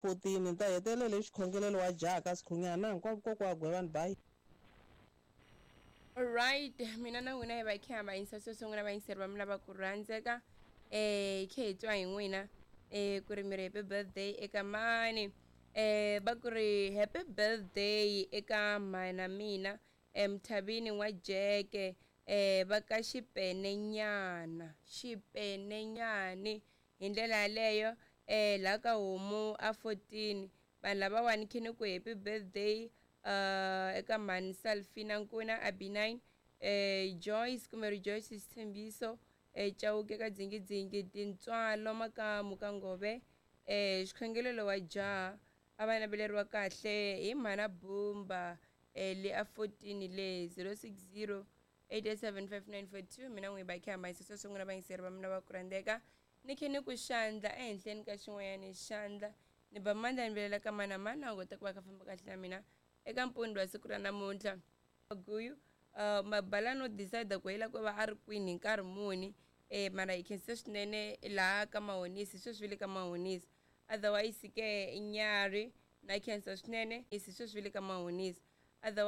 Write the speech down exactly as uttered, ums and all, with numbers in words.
Fourteen ni ta hetelela hi xikhongelelo wa jaha ka Sikhunyana na hinkwavo kokwa Gwevani bayi. Alright, mina na n'wina hi va khe hamba yinsa sweswo n'wina vayingiseri va mina va ku rhandzeka eh hi khe hi twa hi n'wina eh ku ri mi ri happy birthday eka mani eh va ku ri happy birthday eka mhana mina emthavini n'wa Jeke eh va ka Xipenenyana Xipenenyani hi ndlela yaleyo eh la ka homu a fourteen vanhu lavawani khe ni ku happy birthday uh, eka mhani Salfina Nkuna a B nine eh Joyce kumbe Rejoice Sithembiso eh Chauke ka Dzingidzingi Tintswalo Makamu ka Ngove eh xikhongelelo wa jaha a va naveleriwa kahle hi mhana Bumba eh le a fourteen le zero six zero eight eight seven five nine four two mina n'wi ba khe hamba yisa sweswo n'wina vayingiseri va mina va ku rhandzeka ni khe ni ku xandla ehenhleni ka xin'wanyana xandla ni ba mandla ni vilela ka mana mani a kota ku va kha famba kahle na mina eka mpundzu wa siku ra namuntlha guyu uh, mabala no decide ku yela ku va a ri kwini hi nkarhi muni eh mara hi khensa swinene laha ka mahonisi sweswi le ka mahonisi otherwise ke nyari na khensa swinene sweswi le ka mahonisi otherwise.